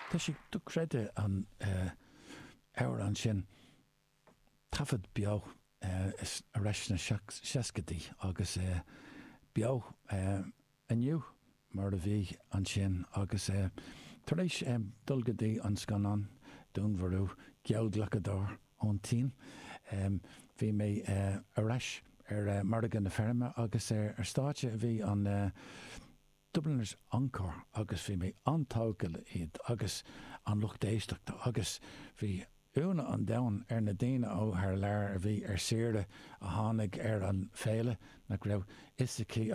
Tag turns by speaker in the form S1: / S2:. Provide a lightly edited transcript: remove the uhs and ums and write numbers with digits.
S1: Tá sé dochreidte an amhrán sin, taifead beo ar ais sna seascaidí agus beo inniu mar a bhí ansin agus tar éis dul go dtí an scannán Dúnmharú Geallghlacadóir ón tSín bhí mé ar ais ar Margadh na Feirme agus ar stáitse a bhí an Dubliners Encore agus bhí mé an-tógtha le iad agus an lucht éisteachta agus bhí ionadh an domhain ar na daoine ó thar lear a bhí ar saoire a tháinig ar an féile nach raibh fhios acu.